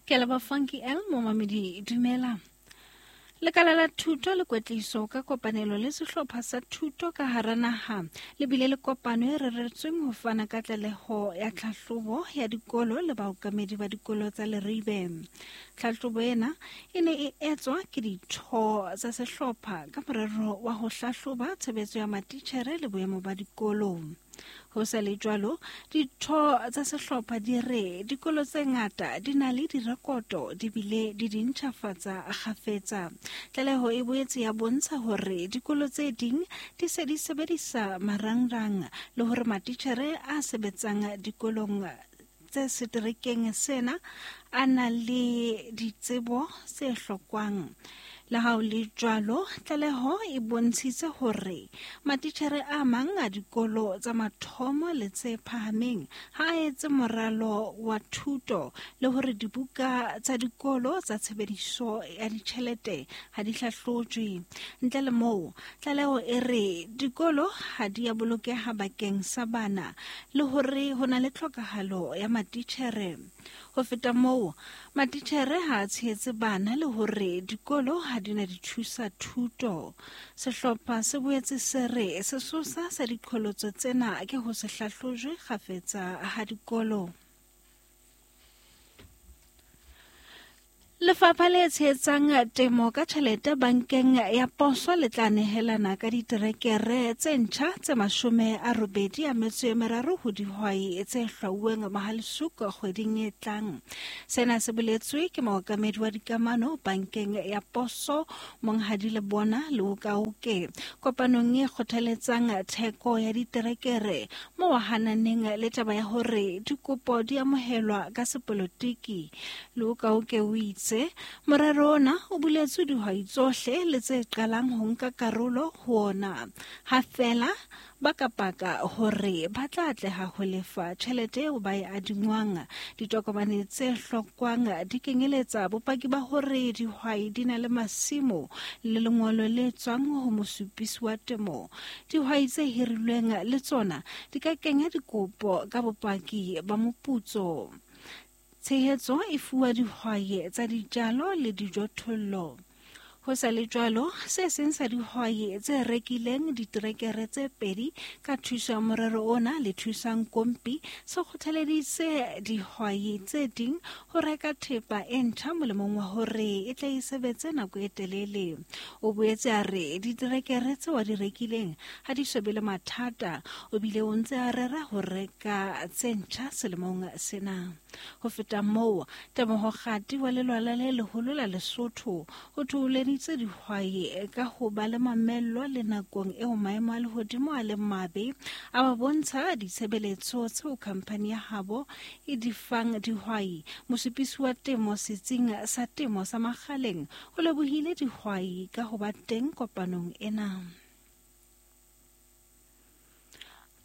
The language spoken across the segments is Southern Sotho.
Ke a leboha Funky L, momamedi dumela. Lekala la thuto le kwetliso ka kopanelo le sehlopha sa thuto ka hara naha le bile le kopano e reretsweng ho fana ka tlaleho ya tlhahlobo ya dikolo le baokamedi ba dikolo tsa Leribe. Tlhahlobo ena e ne e etswa ke ditho tsa sehlopha ka morero wa ho hlahloba tshebetso ya matitjhere le boemo ba dikolo. Ho sa le jwalo, ditho tsa sehlopha di re dikolo tse ngata di na le direkoto di bile di di ntjhafatsa kgafetsa. Tlaleho e boetse ya bontsha hore dikolo tse ding di se di sebedisa marangrang le hore matitjhere a sebetsang dikolong tse seterekeng sena a na le ditsebo tse hlokwang. Le ha ho le jwalo, tlaleho e bontshitse hore matitjhere a mang a dikolo tsa mathomo le tse phahameng ha a etse moralo wa thuto le hore dibuka tsa dikolo tsa tshebediso ya ditjhelete ha di hlahlojwe. Ntle le moo, Tlaleho e re dikolo ha di a bolokeha bakeng sa bana le hore ho na le tlhokahalo ya matitjhere. Ho feta moo, matitjhere ha a tshehetse bana le hore dikolo ha di na dithusa thuto. Sehlopha se boetse se re sesosa sa diqholotso tsena ke ho se hlahlojwe kgafetsa ha dikolo. Lefapha le tshehetsang temo ka tjhelete bankeng ya poso le tla nehelana ka diterekere tse ntjha tse 83 ho dihwai tse hlwauweng Mohale'shoek kgweding e tlang. Sena se boletswe ke mookamedi wa dikamano bankeng ya poso Monghadi Lebona Leokaoke kopanong e kgothaletsang theko ya diterekere mo a hananeng le taba ya hore dikopo di amohelwa ka sepolotiki. Leokaoke o itse morero ona o buletswe dihwai tsohle le tse qalang ho nka karolo ho ona ha feela ba ka paka hore ba tla atleha ho lefa tjhelete eo ba e adingwang. Ditokomane tse hlokwang di kenyeletsa bopaki ba hore dihwai di na le masimo le lengolo le tswang ho mosupisi wa temo. Dihwai tse hirilweng le tsona di ka kenya dikopo ka bopaki ba moputso. Tshehetso e fuwa dihwai tsa dijalo le dijothollo. Ho sa le jwalo, se seng sa dihwai tse rekileng diterekere tse pedi ka thuso ya morero ona le thusang kompi se kgothaleditse dihwai tse ding ho reka thepa e ntjha molemong wa hore e tle e sebetse nako e telele. O boetse a re diterekere tseo a di rekileng ha di so be le mathata, o bile o ntse a rera ho reka tse ntjha selemong sena. Ho feta moo, Teboho Kgati wa lelwala le leholo la Lesotho o thoholeditse dihwai ka ho ba le mamello le nakong eo maemo a lehodimo a leng mabe, a ba bontsha ditshebeletso tseo khamphani ya habo e di fang dihwai. Mosupisi wa temo setsing sa temo sa Makgaleng o lebohile dihwai ka ho ba teng kopanong ena.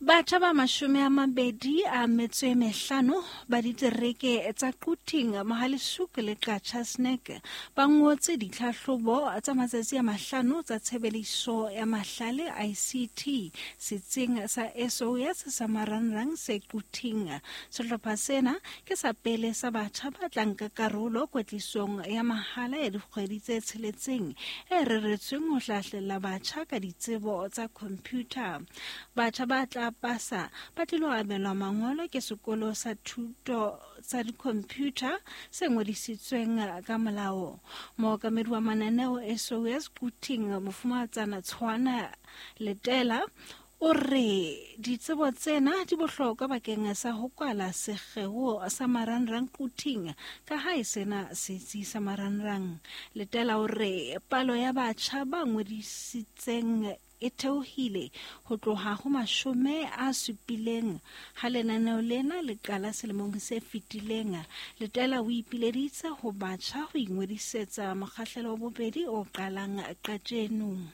Batjha ba 25 ba ditereke tsa Quthing, Mohale'shoek le Qacha's Nek ba ngotse ditlhahlobo tsa matsatsi a mahlano tsa tshebediso ya mahlale ICT setsing sa SOS sa Marangrang se Quthing. Sehlopha sena ke sa pele sa batjha ba tla nka karolo kwetlisong ya mahala ya dikgwedi tse tsheletseng e reretsweng ho hlahlella batjha ka ditsebo tsa computer. Batjha ba tla pasa ba tlilo abelwa mangolo ke sekolo sa thuto tsa di-computer se ngodisitsweng ka molao. Mookamedi wa mananeo SOS Quthing Mofumahatsana Tshwana Letela o re ditsebo tsena di bohlokwa bakeng sa ho kwala sekgeo sa marangrang Quthing ka ha e sena setsi sa marangrang. Letela o re palo ya batjha ba ngodisitseng e theohile ho tloha ho 70 ha lenaneo lena le qala selemong se fetileng. Letela o ipileditse ho batjha ho ingodisetsa mokgahlelo wa bobedi o qalang kajeno.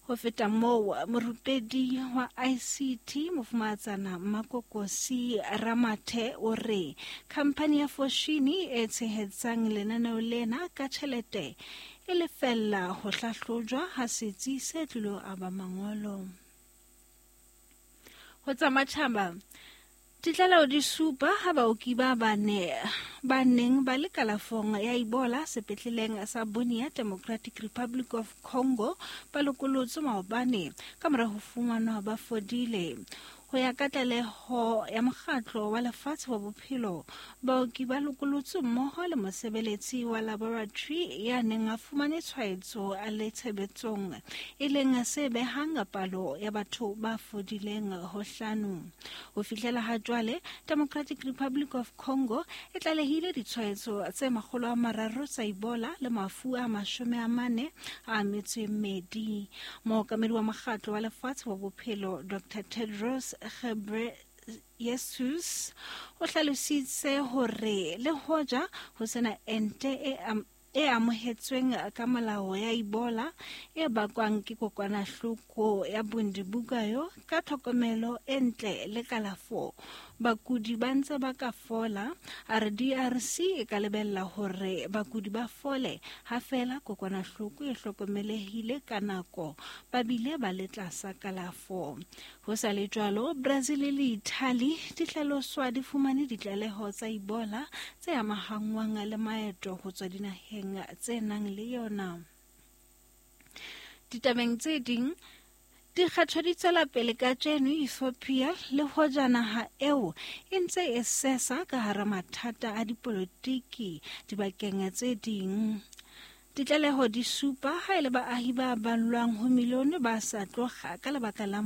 Ho feta moo, morupedi wa ICT Mofumahatsana Mmakokosi Ramathe o re khamphani ya Foschini e tshehetsang lenaneo lena ka tjhelete e lefella ho hlahlojwa ha setsi se tlilo aba mangolo. Ho tsa matjhaba, Ditlaleho di supa ha baoki ba bane ba neng ba le kalafong ya Ebola sepetleleng sa Bunia, Democratic Republic of Congo ba lokolotswe maobane ka mora ho fumanwa ba fodile. Ho ya ka tlaleho ya Mokgatlo wa Lefatshe wa Bophelo, baoki ba lokolotswe mmoho le mosebeletsi wa laboratory ya neng a fumane tshwaetso a le tshebetsong, e leng se behang palo ya batho ba fodileng ho hlano. Ho fihlela ha jwale, Democratic Republic of Congo e tlalehile ditshwaetso tse 300 tsa Ebola le mafu a 40 a metso e mmedi. Mookamedi wa Mokgatlo wa Lefatshe wa Bophelo, Dr. Tedros Ghebreyesus, o hlalositse hore le hoja ho sena ente e amohetsweng ka molao ya Ebola e bakwang ke kokwanahloko ya Bundibugyo, ka tlhokomelo e ntle le kalafo, bakudi ba ntse ba ka fola. A re DRC e ka lebella hore bakudi ba fole ha feela kokwanahloko e hlokomelehile ka nako ba bile ba le tlasa kalafo. Ho sa le jwalo, Brazil le Italy di hlaloswa di fumane ditlaleho tsa Ebola tse amahangwang le maeto ho tswa dinaheng tse nang le yona. Ditabeng tse ding, dikgetho di tswela pele kajeno Ethiopia le hoja naha eo e ntse e sesa ka hara mathata a dipolotiki dibakeng tse ding. Ditlaleho di supa ha e le baahi ba ballwang ho milione ba sa tloga ka lebaka la